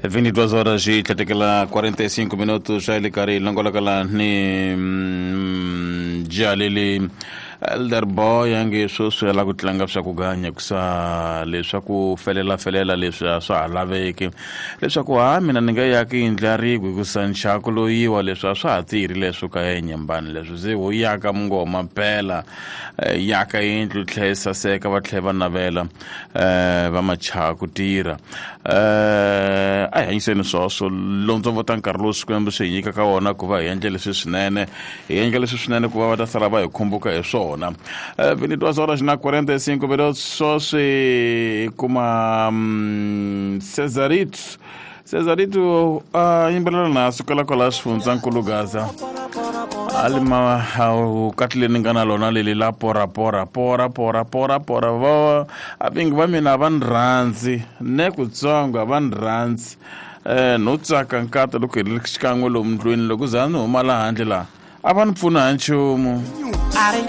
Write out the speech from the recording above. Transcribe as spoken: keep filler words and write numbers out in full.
vinte e duas horas e tlhatekela quarenta e cinco minutos, xa le karhi hi longolokela ni mm, jalili Elder Boy ange sweswi ya la ku tlanga swa ku ganya kusa leswaku felela felela leswi a swa ha laveki, leswaku ha mina ni nga yaki yindlu ya rigwe hikusa nxaku loyiwa, leswi a swa ha tirhi leswo ka enyembani, leswi se ho yaka mungoma mpela, eh, yaka yindlu tlhe yi saseka, va tlhe va navela eh, va machaha ku tirha. eh a hi hanyiseni swoswo lontsongo ta nkarhi lowu Xikwembu swi hi nyikaka wona ku va hi endle leswi swinene, hi endla leswi swinene ku va va ta sala va hi khumbuka hi swona. eh, vinte e duas horas na quarenta e cinco minutos, swoswi hi kuma mm, Cesarito. Cesarito a yimbelela na sukela kwala xifundzankulu Gaza alima katlile ni nga na lona leli la pora pora pora pora pora pora. Va avingi va mina a va ni rhandzi ne kutsongo, a va ni rhandzi eh no tsaka nkata loko hi ri xikan'we lomu ndlwini, loko za ni huma laha handle laha a va ni pfuna ha nchumu. Are